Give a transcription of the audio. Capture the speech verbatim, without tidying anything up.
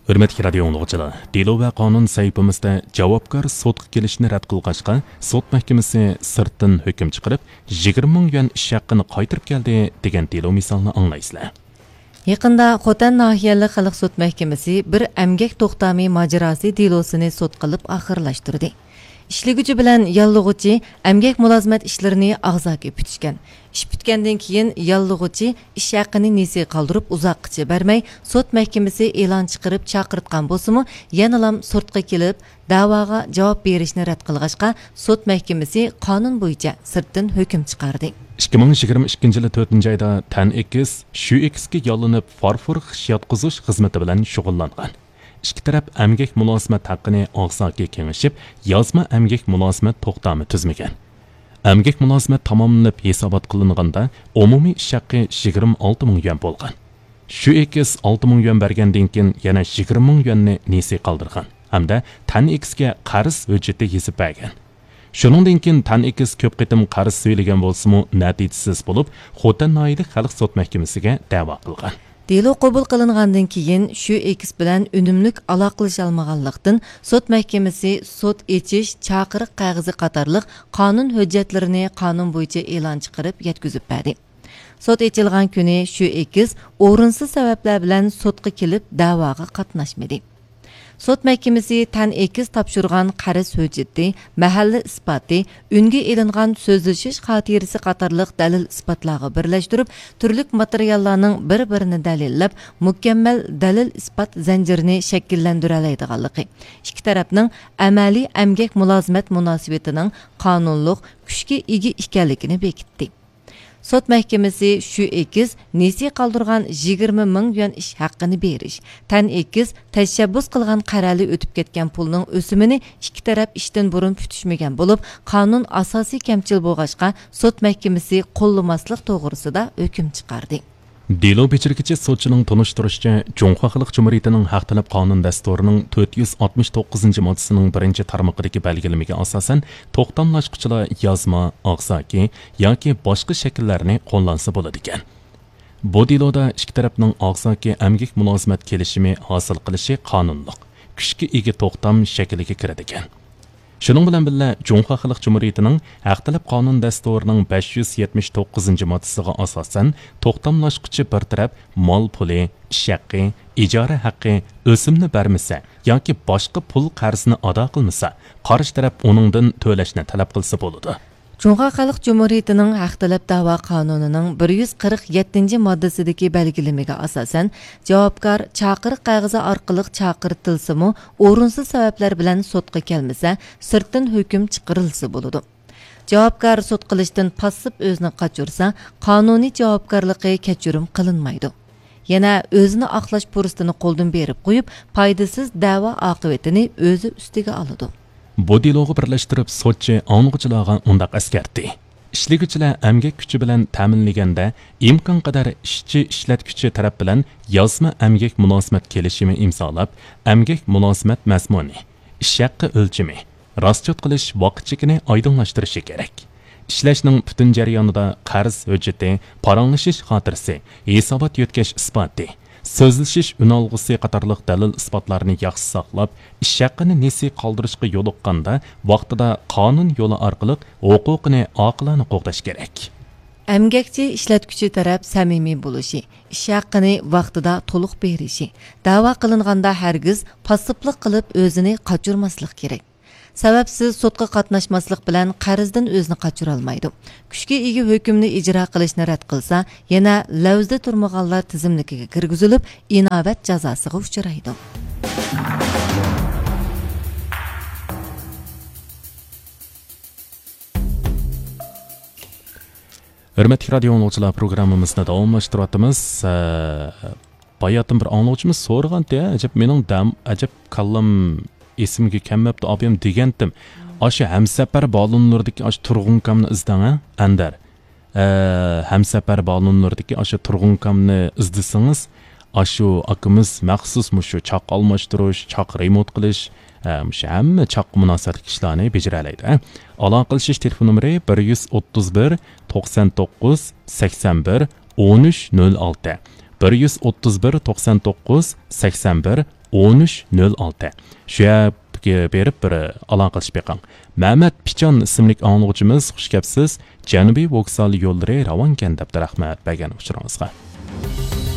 ھۆرمەتلىك رادىيو ئاڭلىغۇچىلار، دېلو ۋە قانۇن سەھىپىمىزدە جاۋابكار سوتقا كېلىشنى رەت قىلغاچقا، سوت مەھكىمىسى سىرتتىن ھۆكۈم چىقىرىپ، يىگىرمە مىڭ يۈەن ئىش ھەققىنى قايتۇرۇپ كەلدى، دېگەن دېلو مىسالىنى ئاڭلايسىلەر. يېقىندا خوتەن ناھىيەلىك خەلق سوت مەھكىمىسى بىر ئەمگەك توختامى ماجىراسى دېلوسىنى سوت قىلىپ ئاخىرلاشتۇردى. ئىشلىگۈچى بىلەن ياللىغۇچى ئەمگەك مۇلازىمەت ئىشلىرىنى ئاغزاكى پۈتۈشكەن. ئىش پۈتكەندىن كېيىن ياللىغۇچى ئىش ھەققىنى نېسى قالدۇرۇپ ئۇزاققىچە بەرمەي، سوت مەھكىمىسى ئېلان چىقىرىپ چاقىرتقان بولسىمۇ، يەنىلام سىرتقا كېلىپ، دەۋاغا جاۋاب بېرىشنى رەت قىلغاچقا، سوت مەھكىمىسى قانۇن بويىچە سىرتتىن ھۆكۈم چىقاردى. ئىككى مىڭ يىگىرمە ئىككىنچى يىلى تۆتىنچى ئايدا تەن ئېكىس، شۈ ئېكىسكە ياللىنىپ، فارفور خىش ياتقۇزۇش خىزمىتى بىلەن شۇغۇللانغان. ئىككى تەرەپ ئەمگەك مۇلازىمەت ھەققىنى ئاغزاكى كېڭىشىپ، يازما ئەمگەك مۇلازىمەت توختامى تۈزمىگەن. ئەمگەك مۇلازىمەت تاماملىنىپ ھېسابات قىلىنغاندا، ئومۇمىي ئىش ھەققى يىگىرمە ئالتە مىڭ يۈەن بولغان. شۈ ئېكىس ئالتە مىڭ يۈەن بەرگەندىن كېيىن، يەنە يىگىرمە مىڭ يۈەننى نېسى قالدۇرغان ھەمدە تەن ئېكىسكە قەرز ھۆججىتى يېزىپ بەرگەن. شۇنىڭدىن كېيىن تەن ئېكىس كۆپ قېتىم قەرز سۈيلىگەن بولسىمۇ، نەتىجىسىز بولۇپ، خوتەن ناھىيەلىك خەلق سوت مەھكىمىسىگە دەۋا قىلغان. دېلو قوبۇل قىلىنغاندىن كېيىن، شۈ ئېكىس بىلەن ئۈنۈملۈك ئالاقىلىشالمىغانلىقتىن، سوت مەھكىمىسى سوت ئېچىش، چاقىرىق قەغىزى قاتارلىق قانۇن ھۆججەتلىرىنى قانۇن بويىچە ئېلان چىقىرىپ يەتكۈزۈپ بەردى. سوت ئېچىلغان كۈنى شۈ ئېكىس ئورۇنسىز سەۋەبلەر بىلەن سوتقا كېلىپ، دەۋاغا قاتناشمىدى. سوت مەھكىمىسى تەن ئېكىس تاپشۇرغان قەرز ھۆججىتى، مەھەللە ئىسپاتى، ئۈنگە ئېلىنغان سۆزلىشىش خاتىرىسى قاتارلىق دەلىل ئىسپاتلارغا بىرلەشتۈرۈپ، تۈرلۈك ماتېرىياللارنىڭ بىر-بىرىنى دەلىللەپ، مۇكەممەل دەلىل ئىسپات زەنجىرىنى شەكىللەندۈرەلەيدىغانلىقى، ئىككى تەرەپنىڭ ئەمەلىي ئەمگەك مۇلازىمەت مۇناسىۋىتىنىڭ قانۇنلۇق كۈچكە ئىگە ئىكەنلىكىنى بېكىتتى. سوت مەھكىمىسى شۈ ئېكىس نېسى قالدۇرغان يىگىرمە مىڭ يۈەن ئىش ھەققىنى بېرىش، تەن ئېكىس تەشەببۇس قىلغان قەرەلى ئۆتۈپ كەتكەن پۇلنىڭ ئۆسۈمىنى ئىككى تەرەپ ئىشتىن بۇرۇن پۈتۈشمىگەن بولۇپ، قانۇن ئاساسى كەمچىل بولغاچقا، سوت مەھكىمىسى قوللىماسلىق توغرىسىدا ھۆكۈم چىقاردى. دېلو بېجىرگۈچى سوتچىنىڭ تونۇشتۇرۇشىچە، جۇڭخۇا خەلق جۇمھۇرىيىتىنىڭ ھەق تەلەپ قانۇن دەستۇرىنىڭ تۆت يۈز ئاتمىش توققۇزىنچى ماددىسىنىڭ بىرىنچى تارمىقىدىكى بەلگىلىمىگە ئاساسەن، توختاملاشقۇچىلار يازما، ئاغزاكى ياكى باشقا شەكىللەرنى قوللانسا بولىدىكەن. بۇ دېلودا ئىككى تەرەپنىڭ ئاغزاكى ئەمگەك مۇلازىمەت كېلىشىمى ھاسىل قىلىشى قانۇنلۇق، كۈچكە ئىگە توختام شەكلىگە كىرىدىكەن. شۇنىڭ بىلەن بىللە، جۇڭخۇا خەلق جۇمھۇرىيىتىنىڭ ھەق تەلەپ قانۇن دەستۇرىنىڭ بەش يۈز يەتمىش توققۇزىنچى ماددىسىغا ئاساسەن، توختاملاشقۇچى بىر تەرەپ مال پۇلى، ئىش ھەققى، ئىجارە ھەققى، ئۆسۈمنى بەرمىسە ياكى باشقا پۇل قەرزىنى ئادا قىلمىسا، قارشى تەرەپ ئۇنىڭدىن تۆلەشنى تەلەپ قىلسا بولىدۇ. جۇڭخۇا خەلق جۇمھۇرىيىتىنىڭ ھەق تەلەپ دەۋا قانۇنىنىڭ بىر يۈز قىرىق يەتتىنچى ماددىسىدىكى بەلگىلىمىگە ئاساسەن، جاۋابكار چاقىرىق قەغىزى ئارقىلىق چاقىرتىلسىمۇ، ئورۇنسىز سەۋەبلەر بىلەن سوتقا كەلمىسە، سىرتتىن ھۆكۈم چىقىرىلسا بولىدۇ. جاۋابكار سوت قىلىشتىن پاسسىپ ئۆزىنى قاچۇرسا، قانۇنىي جاۋابكارلىقى كەچۈرۈم قىلىنمايدۇ. يەنە ئۆزىنى ئاقلاش پۇرسىتىنى قولدىن بېرىپ قويۇپ، پايدىسىز دەۋا ئاقىۋىتىنى ئۆزى ئۈستىگە ئالىدۇ. بۇ دېلوغا بىرلەشتۈرۈپ سوتچى ئاڭلىغۇچىلارغا مۇنداق ئەسكەرتتى: ئىشلىگۈچىلەر ئەمگەك كۈچى بىلەن تەمىنلىگەندە، ئىمكانقەدەر ئىشچى ئىشلەتكۈچى تەرەپ بىلەن يازما ئەمگەك مۇلازىمەت كېلىشىمى ئىمزالاپ، ئەمگەك مۇلازىمەت مەزمۇنى، ئىش ھەققى ئۆلچىمى، راسچوت قىلىش ۋاقىت چېكىنى ئايدىڭلاشتۇرۇشى كېرەك. ئىشلەشنىڭ پۈتۈن جەريانىدا قەرز ھۆججىتى، پاراڭلىشىش خاتىرىسى، ھېسابات يۆتكەش ئىسپاتى، سۆزلىشىش ئۈنئالغۇسى قاتارلىق دەلىل ئىسپاتلارنى ياخشى ساقلاپ، ئىش ھەققىنى نېسى قالدۇرۇشقا يولۇققاندا، ۋاقتىدا قانۇن يولى ئارقىلىق ھوقۇقىنى ئاقىلانە قوغداش كېرەك. ئەمگەكچى ئىشلەتكۈچى تەرەپ سەمىمىي بولۇشى، ئىش ھەققىنى ۋاقتىدا تولۇق بېرىشى، دەۋا قىلىنغاندا ھەرگىز پاسسىپلىق قىلىپ ئۆزىنى قاچۇرماسلىق كېرەك. سەۋەبسىز سوتقا قاتناشماسلىق بىلەن قەرزدىن ئۆزىنى قاچۇرالمايدۇ. كۈچكە ئىگە ھۆكۈمنى ئىجرا قىلىشنى رەت قىلسا، يەنە لەۋزىدە تۇرمىغانلار تىزىملىكىگە كىرگۈزۈلۈپ، ئىناۋەت جازاسىغا ئۇچرايدۇ. ھۆرمەتلىك رادىيو ئاڭلىغۇچىلار، پروگراممىمىزنى داۋاملاشتۇرۇۋاتىمىز. ئە، باياتىن بىر ئاڭلىغۇچىمىز سورىغانتى، ئەجەب مېنىڭ دەم، ئەجەب كاللام ئېسىمگە كەلمەپتۇ، ئابىيام دېگەنتىم. ئاشۇ ھەمسەپەر بالونلىرىدىكى ئاشۇ تۇرغۇنكامنى ئىزدەڭ، ھە، ئەندەر. ئە، ھەمسەپەر بالونلىرىدىكى ئاشۇ تۇرغۇنكامنى ئىزدىسىڭىز، ئاشۇ ئاكىمىز مەخسۇس مۇشۇ چاق ئالماشتۇرۇش، چاق رېمونت قىلىش، ئە، مۇشۇ ھەممە چاققا مۇناسىۋەتلىك ئىشلارنى بېجىرەلەيدۇ، ھە. ئالاقىلىشىش تېلېفون نومۇرى بىر يۈز ئوتتۇز بىر، توقسان توققۇز، سەكسەن بىر، ئون ئۈچ نۆل ئالتە. بىر يۈز ئوتتۇز بىر، توقسان توققۇز، سەكسەن بىر، ئون ئۈچ، نۆل ئالتە. شۇ يەرگە بېرىپ بىر ئالاقىلىشىپ بېقىڭ. مەمەت پىچان ئىسىملىك ئاڭلىغۇچىمىز، «خۇش كەپسىز، جەنۇبىي ۋوگزال يوللىرى راۋانكەن» دەپتۇ، رەھمەت بەرگەن ئۇچۇرىڭىزغا.